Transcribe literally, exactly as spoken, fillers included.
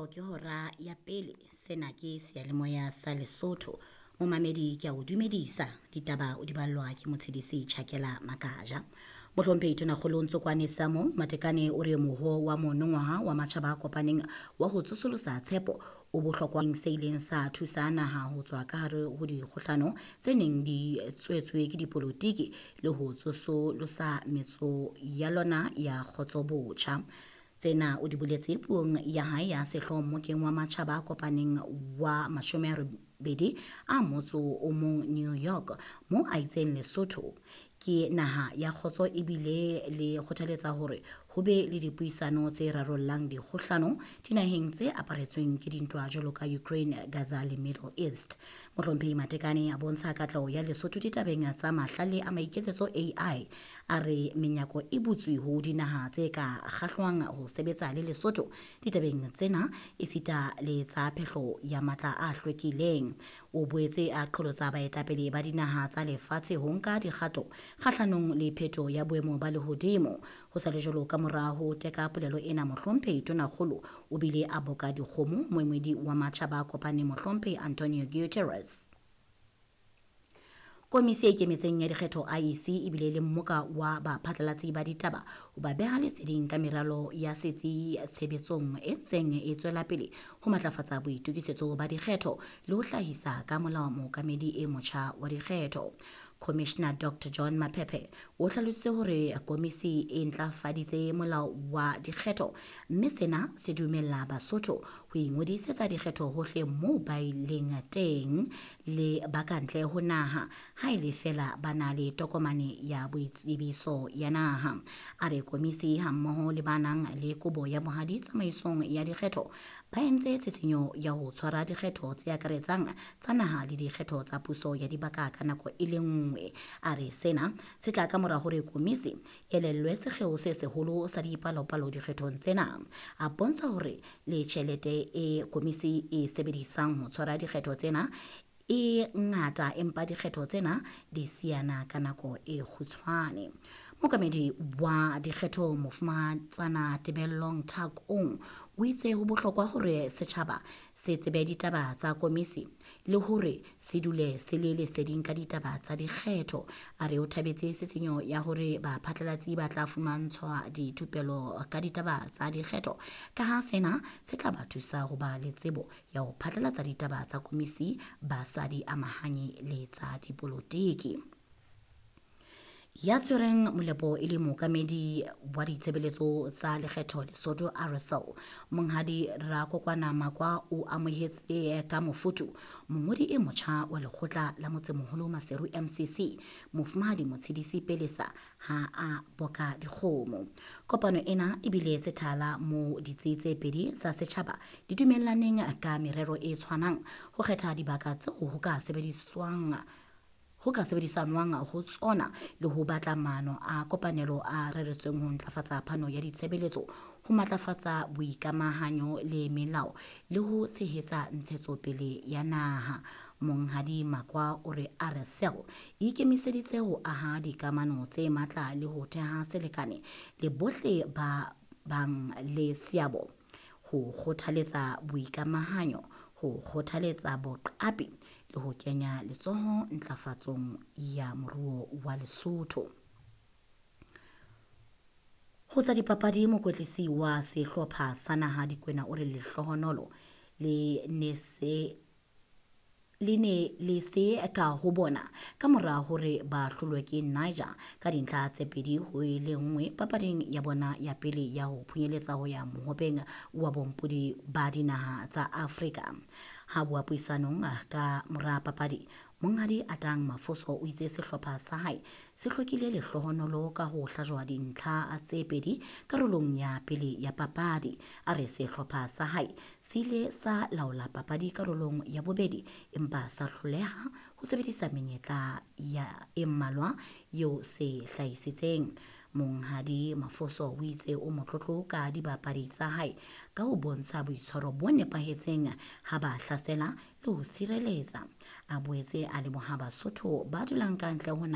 Ke hora ya pele. Sena ke seyalemoya sa Lesotho. Momamedi ke a o dumedisa. Ditaba o di ballwa ke Motshedisi Tjhakela Makaja. Mohlomphehi Tonakgolo Ntsokoane Samo Matekane o re moho wa monongwaha wa matjhaba a kopaneng wa ho tsosolosa tshepo o bohlokwa se ileng sa thusa naha ho tswa ka hare ho dikgohlano tse neng di tswetswe ke dipolotiki le ho tsosolosa metso ya lona ya kgotso botjha. Tsena o di boletse puong ya hae ya sehlooho mmokeng wa matjhaba a kopaneng wa mashome a robedi a motso o mong New York, moo a itseng Lesotho ke naha ya kgotso ebile le kgothaletsa hore ho be le dipuisano tse rarollang dikgohlano dinaheng tse aparetsweng ke dintwa jwalo ka Ukraine, Gaza le Middle East. Mohlomphehi Matekane a bontsha katleho ya Lesotho ditabeng tsa mahlale a maiketsetso A I. A re menyako e butswe ho dinaha tse ka kgahlwang ho sebetsa le Lesotho ditabeng tsena esita le tsa phehlo ya matla a hlwekileng. O boetse a qholotsa baetapele ba dinaha tsa lefatshe ho nka dikgato kgahlanong le pheto ya boemo ba lehodimo. Ho sa le jwalo, ka mora ho teka polelo ena, Mohlomphehi Tonakgolo o bile a boka dikgomo moemedi wa matjhaba a kopaneng Mohlomphehi Antonio Guterres. Komisi e ikemetseng ya dikgetho I E C ebile le mmoka wa baphatlalatsi ba ditaba ho ba beha leseding ka meralo ya setsi tshebetsong e ntseng e tswela pele ho matlafatsa boitokisetso ba dikgetho le ho hlahisa ka molao mookamedi e motjha wa dikgetho. Commissioner Doctor John Maphephe o hlalositse hore komisi e ntlafaditse molao wa dikgetho mme sena se dumella Basotho ho ingodisetsa dikgetho hohle moo ba ileng teng le ba kantle ho naha ha e le feela ba na le tokomane ya boitsebiso ya naha. A re komisi hammoho le ba nang le kobo ya bohadi tsamaisong ya dikgetho ba entse tshisinyo ya ho tshwara dikgetho tse akaretsang tsa naha le dikgetho tsa puso ya dibaka ka nako e le nngwe. A re sena se tla ka mora hore komisi e elellwe sekgeo se seholo sa dipalopalo dikgethong tsena. A bontsha hore le tjhelete e komisi e sebedisang ho tshwara dikgetho tsena e ngata, empa dikgetho tsena di siana ka nako e kgutshwane. Mookamedi wa dikgetho Mofumahatsana Tebellong Thakong o itse ho bohlokwa hore setjhaba se tsebe ditaba tsa komisi le hore se dule se le leseding ka ditaba tsa dikgetho. A re o thabetse tshisinyo ya hore baphatlalatsi ba tla fumantshwa dithupelo ka ditaba tsa dikgetho, ka ha sena se tla ba thusa ho ba le tsebo ya ho phatlalatsa ditaba tsa komisi ba sa di amahanye le tsa dipolotiki. Ya tshwereng molepo e le mookamedi wa ditshebeletso tsa lekgetho Lesotho R S L, Monghadi Rakokwana Makwa o amohetse ka mofuthu mongodi e motjha wa lekgotla la motsemoholo Maseru M C C, Mofumahadi Motshedisi Pelesa ha a boka dikgomo. Kopano ena ebile sethala mo ditsi tse pedi tsa setjhaba di dumellaneng ka merero e tshwanang ho kgetha dibaka tseo ho ka sebediswang ho ka sebedisanwang ho tsona le ho batla maano a kopanelo a reretsweng ho ntlafatsa phano ya ditshebeletso, ho matlafatsa boikamahanyo le melao le ho tshehetsa ntshetsopele ya naha. Monghadi Makwa o re R S L e ikemiseditse ho aha dikamano tse matla le ho theha selekane le bohle ba bang le seabo ho kgothaletsa boikamahanyo, ho kgothaletsa boqapi le ho kenya letsoho ntlafatsong ya moruo wa Lesotho. Ho tsa dipapadi, mokwetlisi wa sehlopha sa naha Dikwena o re lehlohonolo le ne se le ne le se ka ho bona ka mora hore ba hlolwe ke Niger ka dintlha tse pedi ho e le nngwe papading ya bona ya pele ya ho phunyeletsa ho ya mohopeng wa bompodi ba dinaha tsa Afrika. Ha bua puisanong ka mora papadi, Monghadi Atang Mafoso o itse sehlopha sa hae se hlokile lehlohonolo ka ho hlajwa dintlha tse pedi karolong ya pele ya papadi. A re sehlopha sa hae se ile sa laola papadi karolong ya bobedi empa sa hloleha ho sebedisa menyetla ya e mmalwa eo se hlahisitseng. Monghadi Mafoso o itse o motlotlo ka dibapadi tsa hae ka ho bontsha boitshwaro bo nepahetseng ha ba hlasela le ho sireletsa. A boetse a leboha Basotho ba dulang ka ntle ho naha